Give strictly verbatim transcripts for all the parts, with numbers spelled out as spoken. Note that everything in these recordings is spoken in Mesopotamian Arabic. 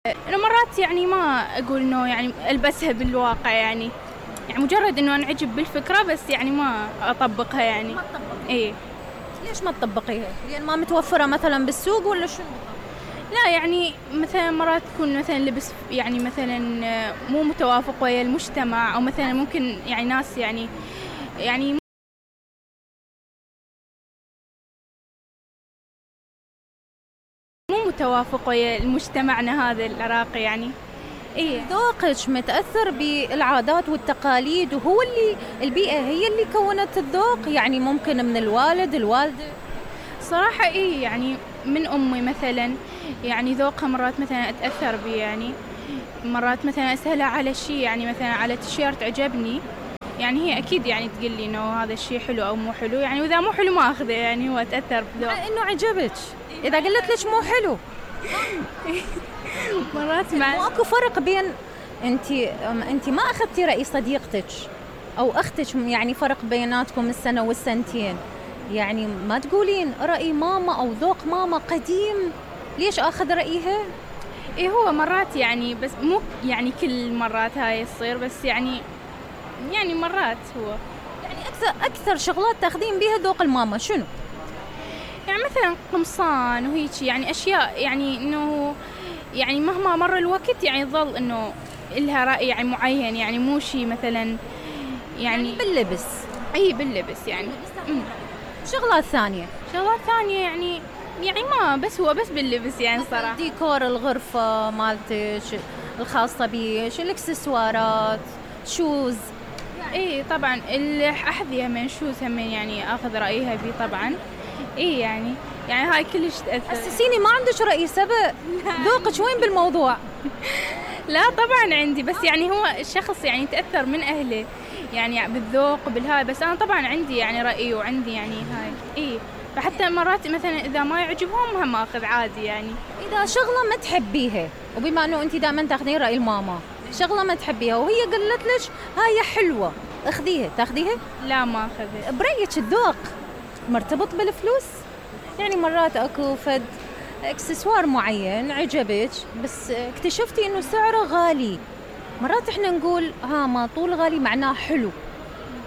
أنا مرات يعني ما أقول إنه يعني ألبسها بالواقع يعني يعني مجرد إنه أنعجب بالفكرة بس يعني ما أطبقها يعني. ما تطبقيها. إيه. ليش ما تطبقيها؟ لأن ما متوفرة مثلا بالسوق ولا شنو؟ لا يعني مثلا مرات تكون مثلا لبس يعني مثلا مو متوافق ويا المجتمع أو مثلا ممكن يعني ناس يعني يعني مو متوافق ويا مجتمعنا هذا العراقي يعني. إيه. ذوقك متأثر بالعادات والتقاليد وهو اللي البيئة هي اللي كونت الذوق، يعني ممكن من الوالد الوالدة. صراحة إيه يعني من أمي مثلا يعني ذوقها مرات مثلا أتأثر بيه يعني مرات مثلا أسألها على شيء يعني مثلا على تيشيرت عجبني يعني هي أكيد يعني تقول لي إنه هذا الشيء حلو أو مو حلو يعني وإذا مو حلو ما أخذه يعني هو أتأثر بذوق. مع إنه عجبك إذا قلت لك مو حلو. مرات مع مو أكو فرق بين أنت أنت ما أخذتي رأي صديقتك أو أختك، يعني فرق بيناتكم السنة والسنتين، يعني ما تقولين رأي ماما أو ذوق ماما قديم ليش أخذ رأيها؟ إيه هو مرات يعني بس مو يعني كل مرات هاي تصير بس يعني يعني مرات هو يعني أكثر أكثر شغلات تاخذين بيها ذوق الماما شنو؟ يعني مثلا قمصان وهيك يعني أشياء يعني إنه يعني مهما مر الوقت يعني ظل إنه إلها رأي يعني معين يعني مو شيء مثلا يعني, يعني باللبس. أي باللبس يعني. أمم. شغلات ثانية شغلات ثانية يعني يعني ما بس هو بس باللبس يعني صراحة. ديكور الغرفة مالتك الخاصة بيش، الإكسسوارات، شوز. إيه طبعا الأحذية من شوز هم يعني أخذ رأيها بي طبعا. إيه يعني يعني هاي كلش تأثر. حسسيني ما عندك رأي سبق، ذوقك وين بالموضوع؟ لا طبعا عندي بس يعني هو الشخص يعني تأثر من أهله يعني بالذوق بالهاي بس أنا طبعا عندي يعني رأي وعندي يعني هاي. إيه فحتى مرات مثلا إذا ما يعجبهم هم أخذ عادي يعني. إذا شغلة ما تحبيها وبما أنه أنت دائما تاخذين رأي الماما، شغلة ما تحبيها وهي قالت لك هاي حلوة اخذيها، تاخذيها؟ لا ما أخذها. برأيك الذوق مرتبط بالفلوس؟ يعني مرات أكو فد اكسسوار معين عجبك بس اكتشفتي انه سعره غالي، مرات احنا نقول ها ما طول غالي معناه حلو،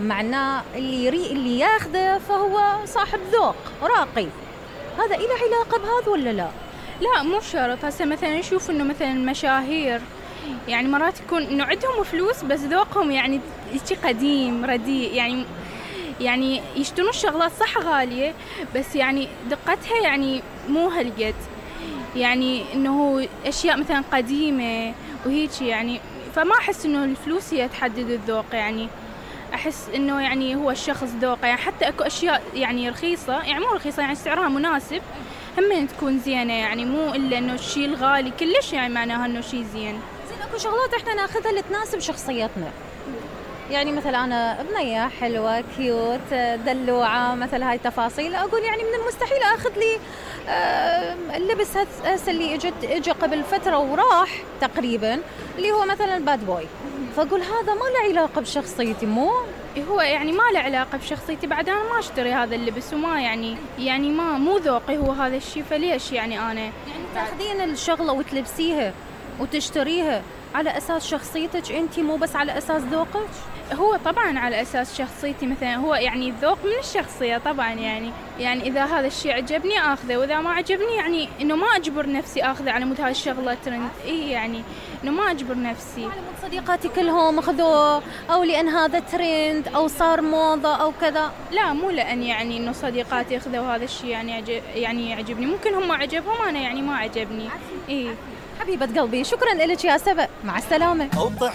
معناه اللي يري اللي ياخذه فهو صاحب ذوق راقي، هذا إله علاقة بهذا ولا لا؟ لا مو شرط. هسه مثلا نشوف انه مثلا المشاهير يعني مرات يكون انه عندهم فلوس بس ذوقهم يعني شيء قديم رديء يعني يعني يشترون الشغلات صح غالية بس يعني دقتها يعني مو هالقد يعني انه اشياء مثلا قديمة وهيك يعني فما احس انه الفلوس هي تحدد الذوق يعني احس انه يعني هو الشخص ذوقه يعني حتى اكو اشياء يعني رخيصة يعني مو رخيصة يعني سعرها مناسب هم تكون زينة يعني مو الا انه الشيء الغالي كلش يعني معناها انه شيء زين. زين اكو شغلات احنا ناخذها اللي تناسب شخصيتنا، يعني مثلا أنا بنية حلوة كيوت دلوعة مثل هاي التفاصيل أقول يعني من المستحيل أخذ لي اللبس هسه اللي اجت اجى قبل فترة وراح تقريبا اللي هو مثلا الباد بوي، فأقول هذا ما له علاقة بشخصيتي مو هو يعني ما له علاقة بشخصيتي بعد أنا ما أشتري هذا اللبس وما يعني يعني ما مو ذوقي هو هذا الشيء فليش يعني أنا يعني تاخذين الشغلة وتلبسيها وتشتريها على أساس شخصيتك أنت مو بس على أساس ذوقك؟ هو طبعا على أساس شخصيتي مثلا هو يعني الذوق من الشخصية طبعا يعني يعني إذا هذا الشيء عجبني أخذه وإذا ما عجبني يعني إنه ما أجبر نفسي أخذه على مود هاي الشغلة ترند. إيه يعني إنه ما أجبر نفسي على مود صديقاتي كلهم أخذوه أو لأن هذا ترند أو صار موضة أو كذا. لا مو لأن يعني إنه صديقاتي أخذوا هذا الشيء يعني عجب يعني يعجبني ممكن هم عجبهم أنا يعني ما عجبني. إيه حبيبة قلبي شكرا لك يا سبأ، مع السلامة.